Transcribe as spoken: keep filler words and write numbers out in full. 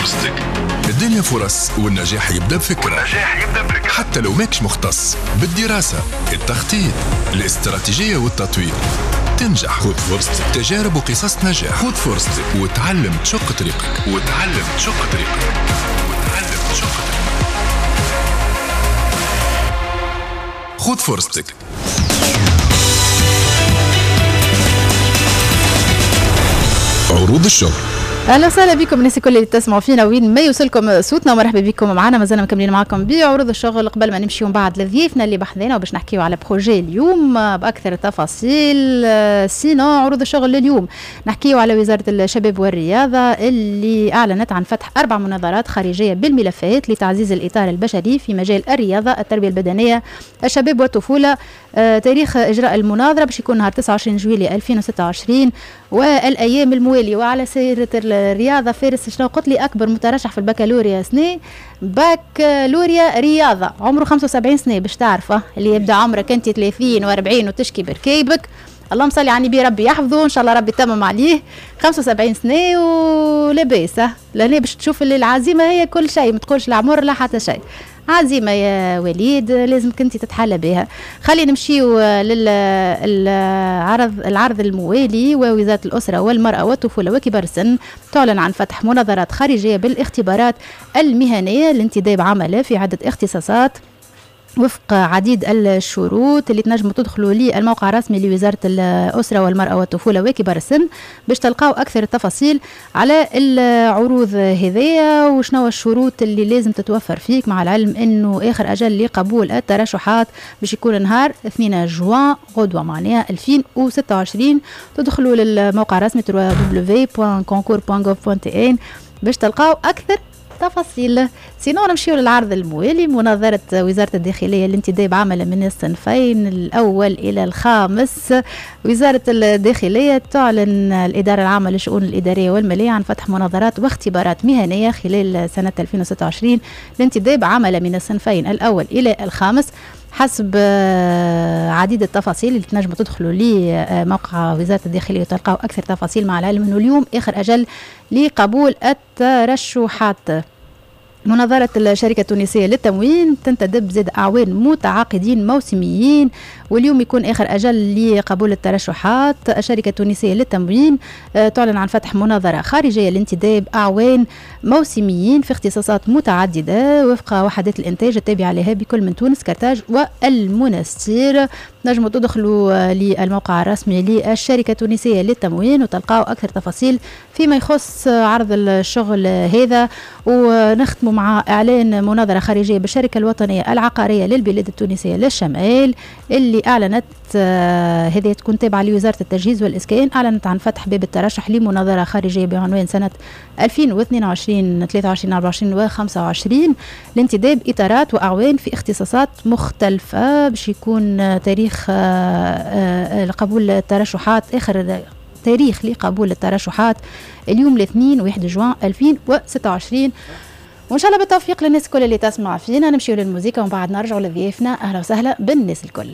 فرصتك. الدنيا فرص، والنجاح يبدأ بفكرة. والنجاح يبدأ بفكرة حتى لو ماكش مختص بالدراسة، التخطيط، الاستراتيجية والتطوير تنجح. خذ فرصتك، تجارب وقصص نجاح. خذ فرصتك وتعلم تشق طريقك، وتعلم تشق طريقك، وتعلم تشق طريقك. خذ فرصتك. عروض الشغل. اهلا وسهلا بكم الناس الكل اللي تسمعوا فينا وين ما يوصلكم صوتنا، ومرحبا بكم معنا. مازلنا مكملين معكم بعروض الشغل. قبل ما نمشيو من بعد لضيفنا اللي بحذانا وباش نحكيو على projet اليوم باكثر التفاصيل. sinon عروض الشغل لليوم نحكيو على وزارة الشباب والرياضة اللي اعلنت عن فتح اربع مناظرات خارجية بالملفات لتعزيز الاطار البشري في مجال الرياضة، التربية البدنية، الشباب والطفوله. تاريخ اجراء المناظرة باش يكون نهار تسعة وعشرين جويلية ألفين وستة وعشرين والايام الموالية. وعلى سيره الرياضة فارس، شنو قلت لي اكبر مترشح في البكالوريا سنة بكالوريا رياضة عمره خمسة وسبعين سنة، باش تعرفه اللي يبدا عمرك انت ثلاثين وأربعين وتشكي بركيبك. اللهم صل على النبي، ربي يحفظه ان شاء الله، ربي يتمم عليه خمسة وسبعين سنة ولاباس. لهنا باش تشوف اللي العزيمة هي كل شيء، ما تقولش العمر لا حتى شيء. عزيمة يا وليد لازم كنتي تتحلى بها. خلينا نمشيو للعرض العرض الموالي. ووزارة الأسرة والمرأة والطفولة وكبار السن تعلن عن فتح مناظرات خارجية بالاختبارات المهنية لانتداب عملاء في عدة اختصاصات وفق عديد الشروط اللي تنجموا تدخلوا للموقع الرسمي لوزارة الأسرة والمرأة والطفولة وكبار السن باش تلقاو أكثر التفاصيل على العروض هذيا وشنو الشروط اللي لازم تتوفر فيك، مع العلم أنه آخر أجل لقبول الترشحات باش يكون نهار اثنين جوان غدوة معناها ألفين وستة وعشرين. تدخلوا للموقع الرسمي دبليو دبليو دبليو دوت كونكور دوت غوف دوت تي ان باش تلقاو أكثر تفاصيل. sinon نمشيو للعرض الموالي. مناظرة وزارة الداخلية لانتداب عمل من الصنفين الأول إلى الخامس. وزارة الداخلية تعلن الإدارة العامة للشؤون الإدارية والمالية عن فتح مناظرات واختبارات مهنية خلال سنة ألفين وستة وعشرين لانتداب عمل من الصنفين الأول إلى الخامس حسب عديد التفاصيل اللي تنجموا تدخلوا لموقع وزارة الداخلية وتلقاو أكثر تفاصيل، مع العلم أنه اليوم آخر أجل لقبول الترشحات. مناظرة الشركة التونسية للتموين تنتدب زاد أعوان متعاقدين موسميين، واليوم يكون آخر أجل لقبول الترشحات. الشركة التونسية للتموين تعلن عن فتح مناظرة خارجية لانتداب أعوان موسميين في اختصاصات متعددة وفق وحدات الإنتاج التابعة لها بكل من تونس، كرتاج والمنستير. نجموا تدخلوا للموقع الرسمي للشركة التونسية للتموين وتلقاو أكثر تفاصيل فيما يخص عرض الشغل هذا. ونختم مع إعلان مناظرة خارجية بالشركة الوطنية العقارية للبلاد التونسية للشمال اللي أعلنت هذه تكون تابعة لوزارة التجهيز والإسكان، أعلنت عن فتح باب الترشح لمناظرة خارجية بعنوان سنة ألفين واثنين وعشرين ثلاثة وعشرين أربعة وعشرين وخمسة وعشرين لانتداب إطارات وأعوان في اختصاصات مختلفة. باش يكون تاريخ قبول الترشحات آخر تاريخ لقبول الترشحات اليوم الاثنين واحد جوان ألفين وستة وعشرين. وإن شاء الله بالتوفيق للناس الكل اللي تسمع فينا. نمشيو للموسيقى ومن بعد نرجعوا لضيافنا. أهلا وسهلا بالناس الكل.